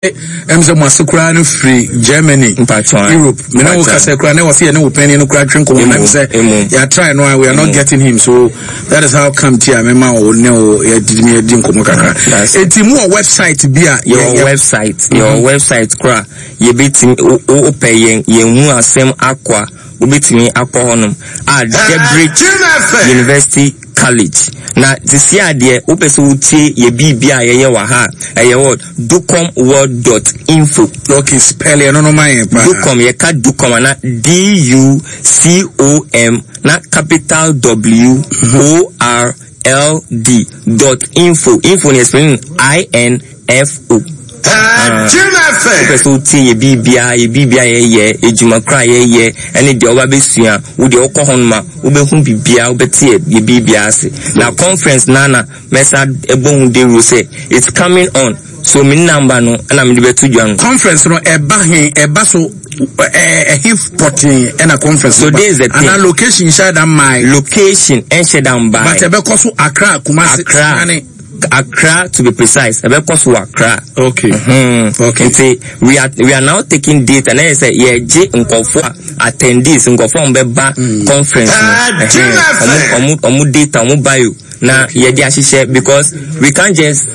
Ɛm sɛ mo ase koraa no firi Germany, Europe. Me ne wo kasa koraa na wɔsi yɛ ne wo panyin no koraa twe nkɔmɔ na sɛ yɛ try no a we are not getting him, so that is how come ti a me ma wo ne wo yɛ di mi yɛ di nkɔmɔ kakra. Eti mu wɔ website bi a. Yɛ wɔ website, yɛ wɔ website koraa yɛ bɛ ti o pɛ yɛn yɛn hu asɛm akɔ a wobɛtumi akɔ hɔnom a Debridge University College. Na sisi adeɛ wopɛ sɛ wotie yɛ biribi a yɛyɛ wɔ ha a, ɛyɛ wɔ ducomworld dot info. Okay, spell ɛno no ma yɛn paa. Ducom, yɛka Ducom ana D U C O M na capital W O R L D dot info. Info no yɛ spelling I N F O. Wopɛ sɛ wotie yɛ biribiara, yɛ biribiara yɛyɛ, adwuma koro a yɛyɛ, ɛne deɛ woba bɛsua, wo deɛ wokɔ hɔ nom a, wobɛhu biribiara, wobɛte yɛ yɛ biribiara ase. Na conference no ara na mɛsa ɛbɔ ho dawuro sɛ it's coming on, so me number no ɛna mede bɛto dwa no. Conference no ɛba he, ɛba so ɛhe pɔtee ɛna conference no ba? So this is the thing. Anaa location nhyɛ da mmae? Location ɛnhyɛ da mbae. But ɛbɛkɔ so Accra, Kumasi, Accra. Sunyani. Accra to be precise, ɛbɛkɔ so wɔ Accra. Okay. Okay. Nti we are now taking data na yɛ sɛ yɛgye nkɔfo a attendees, nkɔfo a wɔbɛba conference no, ɛhɛn, ɔmo data, ɔmo bio na yɛde ahyehyɛ, because we can't just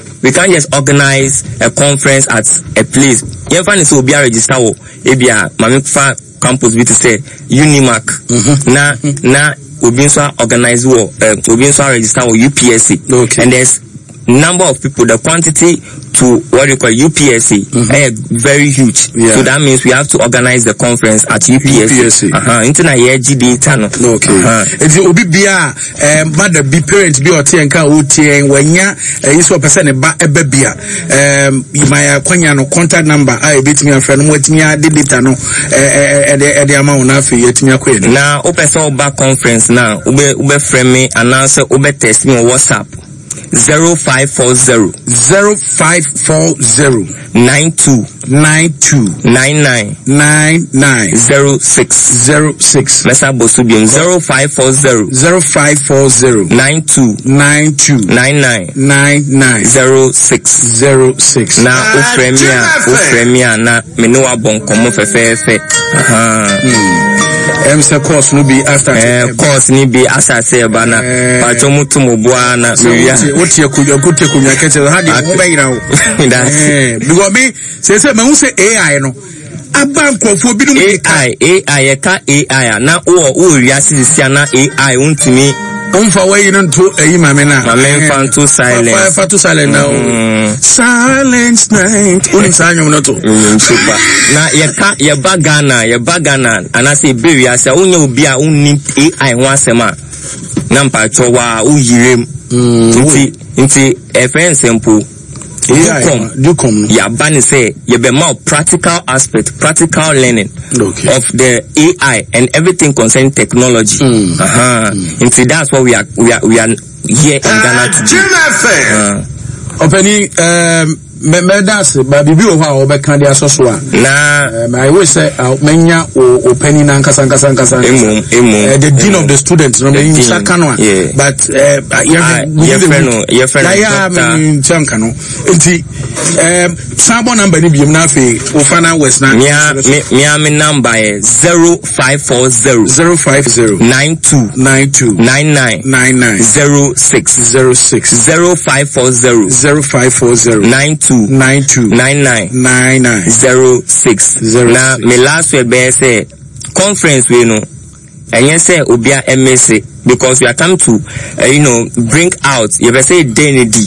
organize a conference at a place. Yɛnfa ne sɛ obi a register wɔ ebi a maame fa campus bi te sɛ Unimac na obi nso a organize wɔ obi nso a register wɔ UPSA and there's number of people, the quantity to what you call UPSA very huge. So that means we have to organize the conference at UPSA. UPSA. Nti na yɛgye data no. Okay. Nti obi bia mother bi, parent bi a ɔte yɛn ka a ɔtie yɛn, wanya ɛyi sɛ ɔpɛ sɛ ne ba ɛba bi a, ma yɛ akwanya no, contact number a ebetumi afrɛ no, mo atumi ade data no ɛde ama wɔn, afei yɛatumi akɔ yɛn. Na wopɛ sɛ woba conference na wobɛfrɛ me anaasɛ wobɛ text me wɔ WhatsApp, 0540 0540 92 92 99 99 06. 06. Mɛsa bɔ so biom, 0540 0540 92 92 99 99 06. 06. Na wofrɛ me a na me ne wabɔ nkɔmmɔ fɛfɛɛfɛ. Aha. Ɛm sɛ course no bi astart. Course ni bi asase ɛba na patwɔ mu to mo boa na mewia. Wote akonnwa, wote akonnwa kɛkyɛ ha deɛ, wo bɛyera wo. That's Because me sɛ mahu sɛ AI no aba, nkurɔfoɔ binom de ka. AI, AI, yɛka AI a na wowɔ wiase sisi a na AI wontumi womfa wayi no nto ayi ma me no a. Ma memfa nto silence. Fa to silent na o silent night, wonim saa nnwom no to. Super. Na yɛka yɛba Ghana anaasɛ yɛbɛ wiase a wonyɛ obi a wonnim AI ho asɛm a na mpatwɔ wa woyire mu. Nti ɛfɛ nsɛmpo AI Ducom Ducom no. Yɛaba ne sɛ yɛbɛma wo practical aspect, practical learning of the AI and everything concerning technology. Nti that's what we are here in Ghana to do. Ɔpani, mɛda ase ba biribi wɔ hɔ a wɔbɛka de asɔ so a na I wish sɛ mɛnya o ɔpani na nkasa nkasa nkasa. Emom, emom. The dean of the students no, mɛ nsa ka no a, but yɛfrɛ no yɛyɛ a nkyɛn nka no. Nti san bɔ number ni biem na afei o final words na. Mia me number yɛ 0540 050 92 92 99 99 06. 06. 0540 0540 92 92 99 99 06. 06. Na me last word bɛyɛ sɛ conference wei no, ɛnyɛ sɛ obia ɛmese, because we are come to bring out, yɛbɛ sɛ den ne di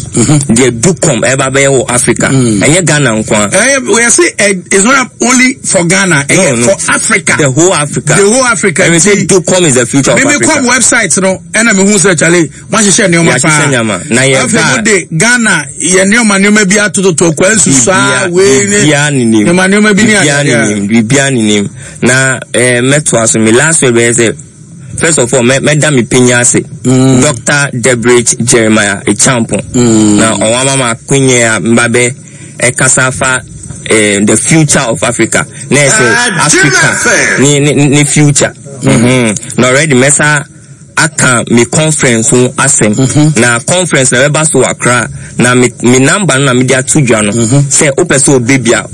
deɛ Ducom ɛba bɛyɛ wɔ Africa, ɛnyɛ Ghana nko a. We say it's not only for Ghana, No. for Africa. The whole Africa. The whole Africa. Ɛmi sɛ Ducom is the future of Mímí Africa. kɔ website no, ɛna mi hu sɛ kyale wọ́n ahyehyɛ nneɛma paa. Yɛahyehyɛ nneɛma. Na yɛ Afei ba- mo de Ghana yɛ nneɛma bi atototo kwa nsusu a wei ne biribiara nenim. nneɛma bi ne Biribiara adeɛ. nenim, biribiara nenim. Na mɛtoa so, me last word bɛyɛ sɛ first of all mɛda me panyin ase, Dr Debridge Jeremiah Echampo, na ɔwɔ ama ma akonye a mba bɛ ɛkasa fa the future of Africa, na yɛ sɛ Africa ne future. Na already mɛsa aka me conference ho asɛm. Na conference na ɛbɛba so wɔ Accra. Na me me number no na mede ato dwa no. Sɛ wopɛ sɛ ɔbɛ bi a.